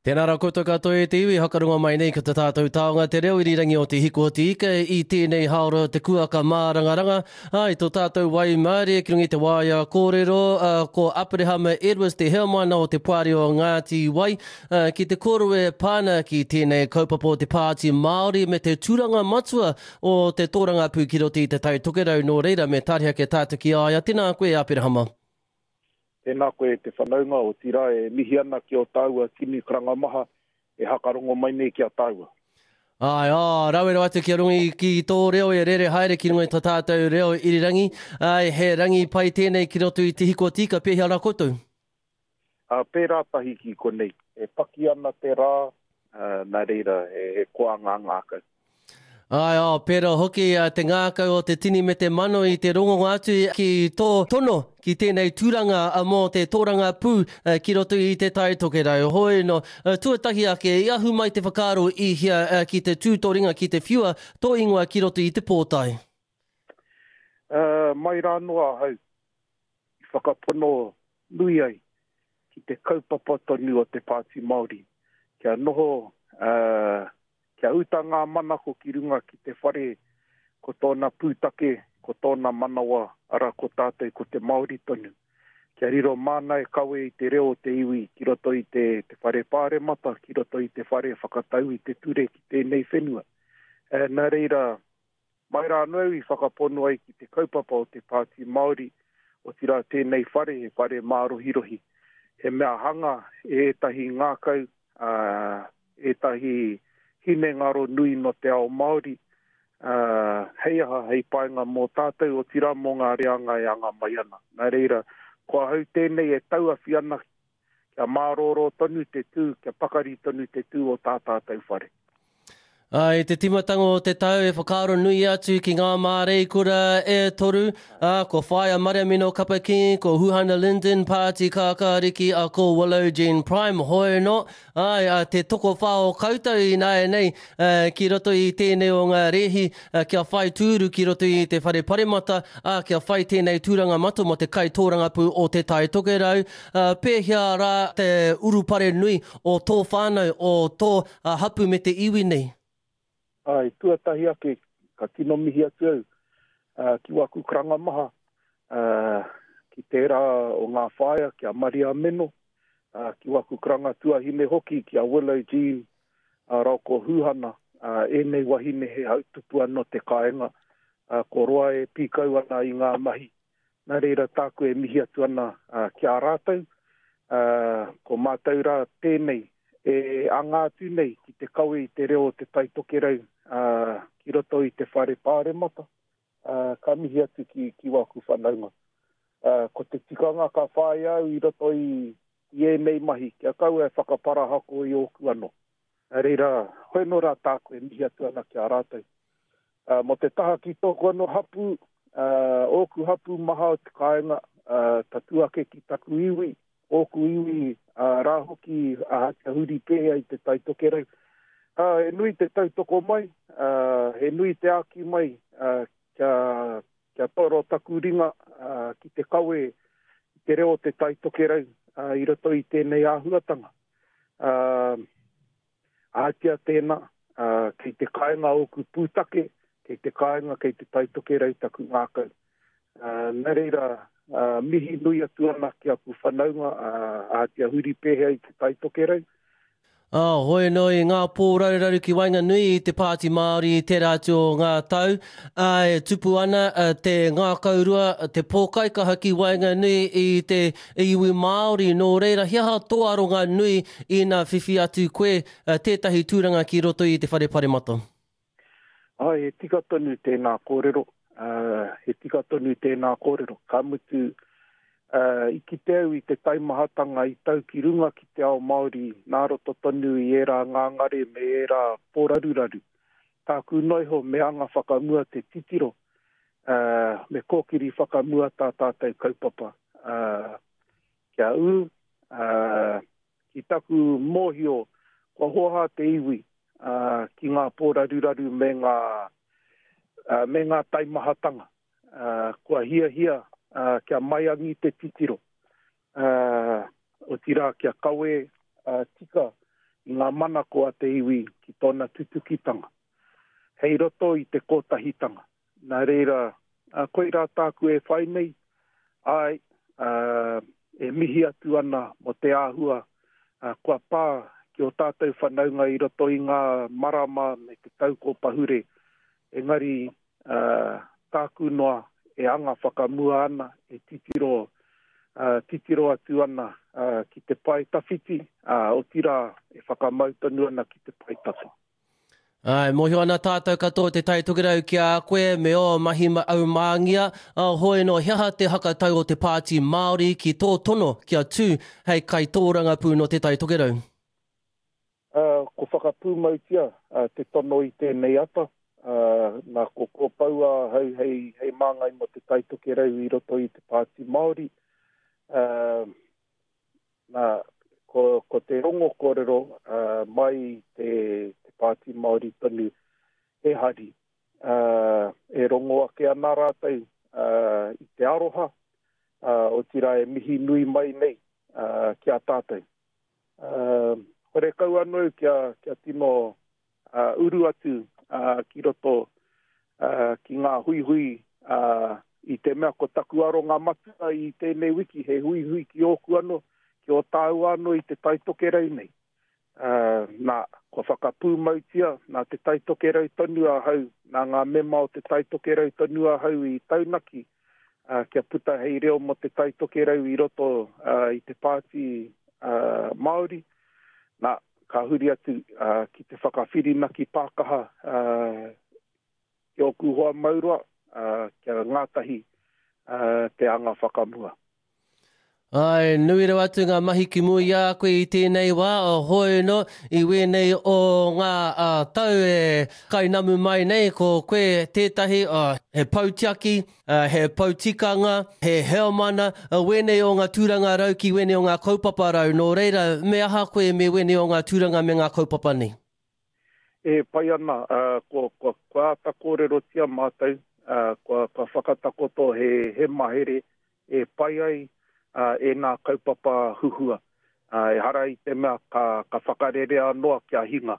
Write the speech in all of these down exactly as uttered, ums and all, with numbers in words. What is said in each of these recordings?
Tēnā rā koutou katoa e te iwi, hakarunga mai nei ki te tātou taonga te reo irirangi o te hiko o te ika i tēnei haora te kuaka mārangaranga. Ai, tō tātou waimarie ki runga i te waea kōrero, uh, ko Aperehama Edwards te heamana o te Poari o Ngāti Wai, uh, ki te kōrero e pāna ki tēnei kaupapa o te Pāti Māori me te tūranga matua o te tōrangapū ki roto i te Tai Tokerau. Nō reira me tāriha ke tātou ki a ia. Tēnā koe, Aperehama. Tēnā koe te whanaunga, otirā e mihi ana ki o tāua tini karanga maha e hakarongo mai nei ki a tāua. Ai, ā, rawe rawa atu kia rongi ki tō reo e rere haere ki runga i tō tātou reo irirangi. Ai, he rangi pai tēnei ki roto i te hiko tika, pēhea rā koutou? Ā, pērā tahi ki konei. E paki ana te rā, ā, nā reira, he, he koa ngā ngākau. Ai, ā, pērā hoki te ngākau o te tini me te mano i te rongonga atu ki tō tono ki tēnei tūranga mō te tōrangapū ki roto i te Tai Tokerau. Hoi no, tuatahi ake, i ahu mai te whakaaro i hea ki te tū tō ringa ki te whiua tō ingoa ki roto i te pōtae? Uh, mai rā noa ahau i whakapono nui ai ki te kaupapa tonu o te Pāti Māori. Kia noho, uh, kia uta ngā manako ki runga ki te whare, ko tōna pūtake, ko tōna manawa, ara ko tātou ko te Māori tonu. Kia riro māna e kawe i te reo o te iwi ki roto i te, te whare pāremata, ki roto i te whare whakatau i te ture ki tēnei whenua. E, nā reira, mai rā anō au i whakapono ai ki te kaupapa o te Pāti Māori, otirā tēnei whare, he whare mārohirohi. He mea hanga e ētahi ngākau, uh, ētahi hinengaro nui no te ao Māori, uh, hei aha, hei painga mō tātou, otirā mō ngā reanga e anga mai ana. Nā reira, ko ahau tēnei e tauawhi ana kia mārōrō tonu te tū, kia pakari tonu te tū o tā tātou whare. Ai, te timatanga o te tau e whakaaro nui atu ki ngā māreikura e toru, ā, ko Whaea Mariamino Kapa King, ko Huhana Lyndon, Pāti Kākāriki, a ko Willow Jean Prime, hoi no, ai, a, te tokowhā o koutou ināianei, uh, ki roto i tēnei o ngā rēhi, uh, kia whai tūru ki roto i te whare paremata, ā, kia whai tēnei tūranga matua mō te kai tōrangapū o te Tai Tokerau. Uh, pēhea rā te urupare nui o tō whānau, o tō uh, hapu me te iwi nei? Ai, tuatahi ake, ka tino mihi atu au, uh, ki waku karanga maha, uh, ki tērā o ngā whaea, ki a Maria Meno, uh, ki waku karanga tuahine hoki, ki a Willow Jean, uh, rau ko Huhana, uh, ēnei wahine he hautupu anō te kāinga, uh, ko roa e pīkau ana i ngā mahi. Nā reira tāku e mihi atu ana uh, ki a rātou, uh, ko mātou rā tēnei, e anga atu nei ki te kawe i te reo o te Tai Tokerau, uh, ki roto i te whare pāremata, uh, ka mihi atu ki, ki waku whanaunga. Uh, ko te tikanga ka whāia au i roto i, i ēnei mahi, kia kaua e whakaparahako i ōku anō. Nā reira, hoi nō rā tāku e mihi atu ana ki a rātou. Uh, mō te taha ki tōku anō hapu, uh, ōku hapu maha o te kāinga, uh, tatū ake ki taku iwi, ōku iwi uh, rā hoki uh, kia huri pēhea i te Tai Tokerau. Uh, he nui te tautoko mai, uh, he nui te āki mai, uh, kia, kia toro taku ringa uh, ki te kawe i te reo o te Tai Tokerau uh, i roto i tēnei āhuatanga. Uh, ātia tēnā, uh, kei te kāinga ōku pūtake, kei te kāinga, kei te Tai Tokerau taku ngākau. Uh, nā reira, uh, mihi nui atu ana ki aku whanaunga, uh, ātia huri pēhea i te Tai Tokerau. Ah, hoi no i ngā pōraruraru ki waenganui i te Pāti Māori i tērā atu o ngā tau, ā, e tupu ana te ngākaurua, te pōkaikaha ki waenganui i te iwi Māori. Nō reira, he aha tō aronga nui ina whiwhi atu koe tētahi tūranga ki roto i te whare paremata? Ai, he tika tonu tēnā kōrero. Uh, he tika tonu tēnā kōrero. Ka mutu, uh, i kite au i te taimahatanga i tau ki runga ki te ao Māori, nā roto tonu i ērā ngāngare me ērā pōraruraru. Tāku noiho me anga whakamua te titiro, uh, me kōkiri whakamua tā tātou kaupapa. Uh, kia ū, uh, ki taku mōhio, kua hoha te iwi uh, ki ngā pōraruraru me ngā, uh, me ngā taimahatanga. Uh, kua hiahia uh, kia maiangi te titiro. Uh, otirā kia kawe uh, tika i ngā manako a te iwi ki tōna tutukitanga. Hei roto i te kotahitanga. Nā reira, koirā tāku e whai nei, ai, uh, e mihi atu ana mo te āhua uh, kua pā ki o tātou whanaunga i roto i ngā marama me te tau ko pahure. Engari uh, tāku noa e anga whakamua ana, e titiro, uh, titiro atu ana uh, ki te pae tawhiti, uh, otirā e whakamau tonu ana ki te pae tata. Ai, mōhio ana tātou katoa te Tai Tokerau ki a koe me o mahi aumāngia, a hoi no he aha te hakatau o te Pāti Māori ki tō tono kia tū hei kaitōrangapū no te Tai Tokerau? Uh, ko whakapūmautia uh, te tono i tēnei ata, uh, nā ko kōpaua hau hei, hei māngai mo te Tai Tokerau i roto i te Pāti Māori. Uh, nā, ko, ko te rongo kōrero uh, mai te, te Pāti Māori tonu e hari. Uh, e rongo ake ana rātou uh, i te aroha, uh, otirā e mihi nui mai nei uh, ki a tātou. Uh, hore kau anō kia, kia tino uh, uru atu uh, ki roto uh, ki ngā huihui uh, i te mea ko taku aronga matua i tēnei wiki, he huihui ki ōku anō, ki o tāua anō i te Tai Tokerau nei. Uh, nā, kua whakapūmautia, nā te Tai Tokerau tonu ahau, nā ngā mema o te Tai Tokerau tonu ahau i taunaki, uh, kia puta hei reo mo te Tai Tokerau i roto uh, i te Pāti uh, Māori. Nā, ka huri atu uh, ki te whakawhirinaki pākaha uh, ki ōku hoa mauroa, uh, kia ngātahi uh, te anga whakamua. Ai, nui rawa atu ngā mahi ki mua i a koe i tēnei wā, o hoi no, i wēnei o ngā uh, tau e kainamu mai nei, ko koe tētahi, uh, he pautiaki, uh, he pautikanga, he heomana, uh, wēnei o ngā tūranga rau ki wēnei o ngā kaupapa rau. Nō reira, me aha koe me wēnei o ngā tūranga me ngā kaupapa nei? E pai ana, uh, kua, kua, kua āta kōrerotia mātou, uh, kua, kua whakatakoto he, he mahere e pai ai Uh, e nā kaupapa huhua. Uh, e hara i te mea ka, ka whakarerea noa kia hinga.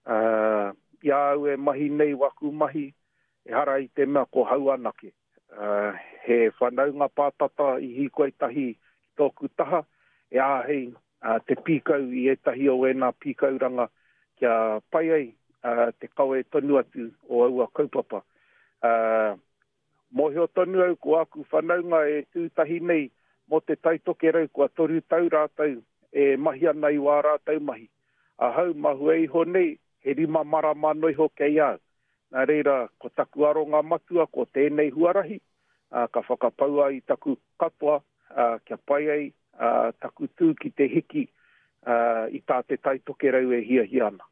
Uh, i a au e mahi nei waku mahi, e hara i te mea ko hau anake. Uh, he whanaunga pātata i hīkoi tahi ki tōku taha, e āhei uh, te pīkau i ētahi o ēnā pīkauranga kia pai ai uh, te kawe tonu atu o aua kaupapa. Uh, mōhio tonu au ko aku whanaunga e tūtahi nei mō te Tai Tokerau kua toru tau rātou e mahi ana i wā rātou mahi. Ahau mahue iho nei, he rima marama no iho kei au. Nā reira, ko taku aronga matua, ko tēnei huarahi, uh, ka whakapaua i taku katoa, uh, kia pai ai uh, taku tū ki te hiki uh, i tā te Tai Tokerau e hiahia ana.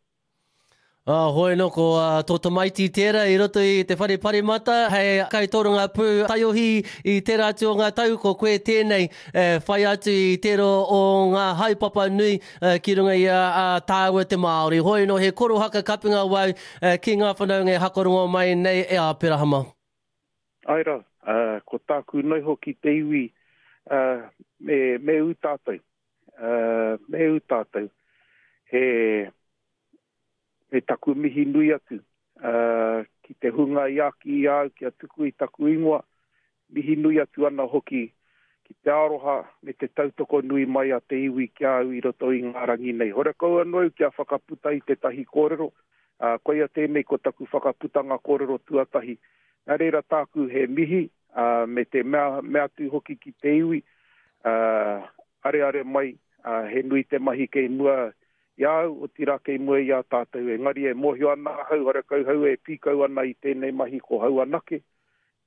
Ah, hoi no, ko uh, tō tamaiti tērā i roto i te whare parimata, hei kaitoranga pū taiohi i tērā atu o ngā tau, ko koe tēnei eh, whai atu i tērā o ngā haepapa nui eh, ki runga i a, a tāua te Māori. Hoi no, he korohaka kapinga wau eh, ki ngā whanaunga e hakarongo mai nei e Aperahama. Ai rā, uh, ko tāku noi hoki te iwi uh, me, me ū tātou. Uh, me ū tātou. He... me taku mihi nui atu uh, ki te hunga i aki i au, kia tuku i taku ingoa, mihi nui atu ana hoki ki te aroha me te tautoko nui mai a te iwi ki au i roto i ngā rangi nei. Hore kau anō kia whakaputa i tētahi kōrero, uh, koia tēnei ko taku whakaputanga kōrero tuatahi. Nā reira tāku he mihi uh, me te mea, mea atu hoki ki te iwi, uh, areare mai, uh, he nui te mahi kei mua i au, otirā kei mua i a tātou. Engari e mōhio ana ahau, hore kau hau e pīkau ana i tēnei mahi ko hau anake.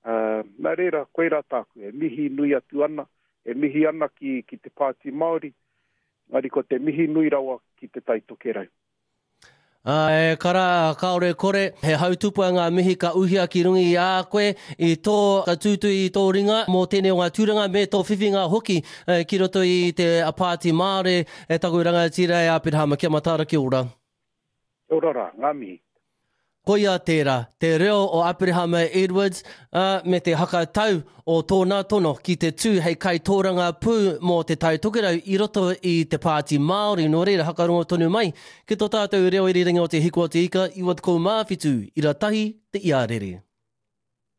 Uh, nā reira, koirā tāku, e mihi nui atu ana, e mihi ana ki, ki te Pāti Māori, engari ko te mihi nui rawa ki te Tai Tokerau. E kara, kāore kore, he hautupua ngā mihi ka uhia ki runga i a koe i tō ka tūtui i tō ringa mō tēnei o ngā tūranga me tō whiwhinga hoki ki roto i te Pāti Māori e taku rangatira e Aperahama. Kia mataara, kia ora. Kia ora rā, ngā mihi. Koia tērā, te reo o Aperehama Edwards, ā, me te hakatau o tōna tono ki te tū hei kaitōrangapū mō Te Tai Tokerau i roto i te Pāti Māori. Nō reira, hakarongo tonu mai ki tō tātou reo irirangi o Te Hiku o Te Ika, iwa tekau mā whitu, ira tahi, te iarere.